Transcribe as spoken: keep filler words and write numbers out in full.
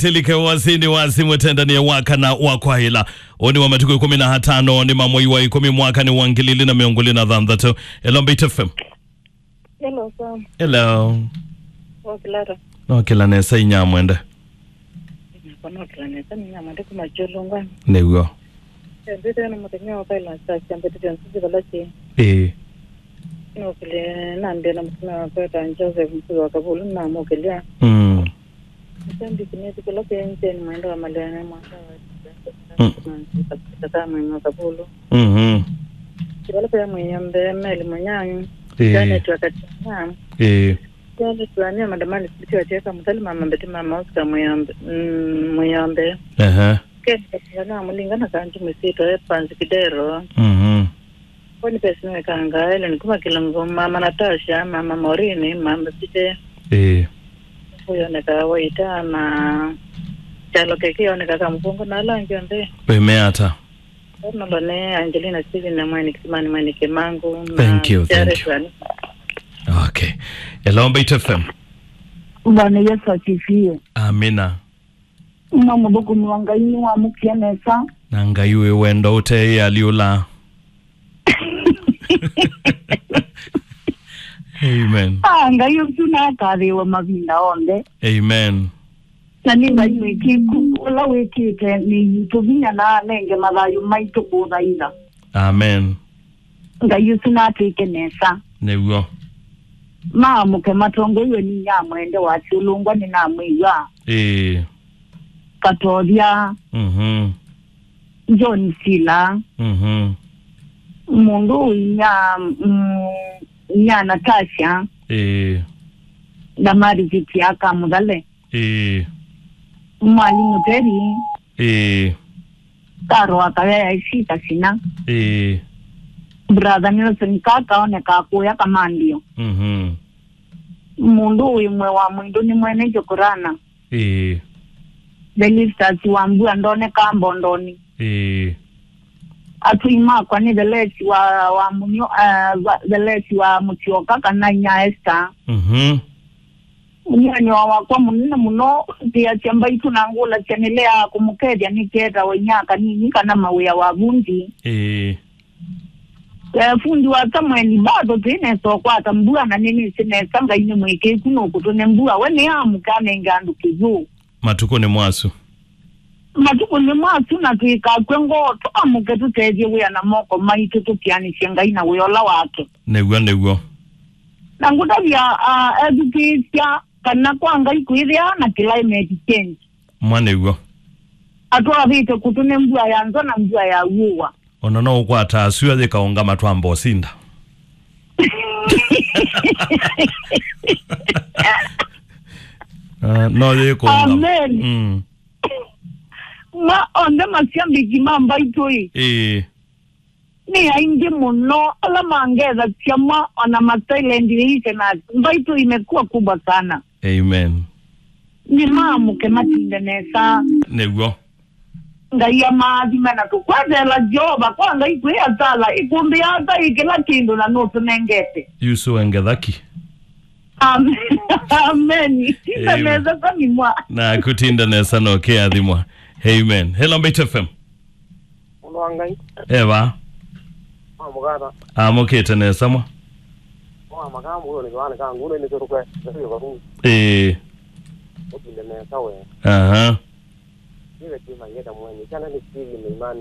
Tilike wasini wasi mũtendanie wa kana wa kwaĩla. Ũnĩ wa matukũ ĩkũmi na atano nĩ ma mwei wa ĩkũmi mwaka nĩ wa ngili ilĩ na mĩongo ĩlĩ na thanthatũ. Hello, Mbaitu F M. Hello, Sam. Hello. Wakĩla ata? Nokĩla nesa inyamwende. Nakwa nokĩla nesa nĩ inyamwende kuma Kyũlũngwa. Nĩw'o. Ndĩte na mũthenya wa kaila saa syambĩte syonse syĩvala syĩ. Ĩĩ. Nokĩle nambĩa na mũtumĩa wakwa ta Joseph Mkuu wa Kavulu namũkĩlya. Mm. Mashabiki nĩthikĩla kĩenjeni mwendo wa maleane mwaka wa Mm. Kaka mwĩmwe Kavulu. Mhm. Kĩvala kĩa mwĩyambe Meli Mũnyangi. Ĩĩ. Janet wa Katiana. Ĩĩ. Janet wa Nia Madamani Siti wa Tieka Mũthali mama Mbeti mama Oscar mwĩyambe. Mm, mwĩyambe. Aha. Ken Katiana wa Mũlinga na Kanji Mĩsito Evans Kidero. Mhm. Boniface Nĩwekanga, Ellen kuma Kĩlungu, mama Natasha, mama Maureen, mama Site. Ĩĩ. Ũyoneka Waita na Kyalo Keki yoneka Kamũkũngũ na ala angĩ onthe. Wĩmea ata? Nolo nĩ Angelina Steven na Mweni Kisimani Mweni Kimangu na Thank you, thank Jared you. Wani. Okay. Hello, Mbaitu F M. Bwana Yesu asifiwe. Amina. Uma mũthũkũmi wa Ngai nĩwamũkie nesa. Na Ngai wĩ wendo ũteĩ aliũla. Amen. Ah, Ngai ũsu nakathĩĩwe mavinda onthe. Amen. Na nĩ Ngai mwĩkĩku, ũla wĩkĩte mĩĩ yitũ vinya na anenge mathayũ maitũ kũthaitha. Amen. Ngai ũsu natwĩke nesa. Nĩw'o. Maamũke matongoiwe nĩ inyamwende wa Kyũlũngwa nĩnamwĩw'a. Ĩĩ. Katovya. Mhm. John Sila. Mhm. Mũndũ inya, mm, inya Natasha. Ĩĩ. Ndamari Kitiaka Mũthale. Ĩĩ. Mwalimu Teri. Ĩĩ. Karo wa Kawea Ishi Kasina. Ĩĩ. Brother Nelson Kaka oneka kũya Kamandio. Mhm. Mũndũ wĩ mwe wa mwĩndũ nĩ mwene Jokorana. Ĩĩ. Thelistas wa Mbua ndoneka Mbondoni. Ĩĩ. Atũi makwa nĩ Thelesi wa, wa Mũnyo, eh, va-, Thelesi wa Mũtyoka kana inya Esther. Mhm. Mũnyanĩwa wakwa mũnene mũno, nthĩasya mbaitũ na ngũlasya nĩleaa kũmũkethya nĩketawa inya kanini kana mawĩa wa vundi. Ĩĩ. Eh, fundi wa Samuel, bado twĩ nesa ũkwata mbua na nĩnĩsĩ nesa Ngai nĩ mwĩkĩĩku nũkũtũne mbua. We nĩamũke anenge andũ kĩw'ũ. Matukũ nĩ mwasu. Matukũ nĩ mwasu na twĩkakw'e ngoo, tũamũke tũtethye wĩa na moko maitũ tũtianĩsye Ngai na wĩa ũla wake. Nĩw'o, nĩw'o. Na ngũtavya, ah, ethukĩĩsya kana kwa Ngai kwĩthĩaa na climate change. Mwa nĩw'o. Atwavĩte kũtũne mbua ya nzwa na mbua ya w'ũwa. Ona no ũkwata sua yĩkaũngama twamba ũsinda. Ah, no yĩkũngama. Amen. Mm. Ma onthe mashabiki ma mbaitũ ĩ. Ĩĩ. Nĩ aingĩ mũno ala mangethasya mwa ona ma silent listeners. Mbaitũ imekuwa kubwa sana. Amen. Nĩmaamũke matinde nesa. Nĩw'o. Ngai amaathime na tũkweteela Jeova kwa Ngai kwĩ asala ĩkũmbĩ ata ĩ kĩla kĩndũ na nũtũnengete. Yusu wengethaki. Amen. Amen. Tinda nesa kwa nimwa. Na kutinda nesa no kĩathimwa. Amen. Hello, Mbaitu F M. Mũndũ wa Ngai. Eva. Wa mũkata. Amũkĩte nesa mwa. Wa makamba ũyũ nĩ kĩwana ka ngũnĩ nĩ kĩrũkwe. Nĩ kĩrũkwe. Ĩĩ. Ũtinde nesa we. Aha. Nĩwe kĩma ngeta mwenye. Kana nĩ kĩvi nĩ imani.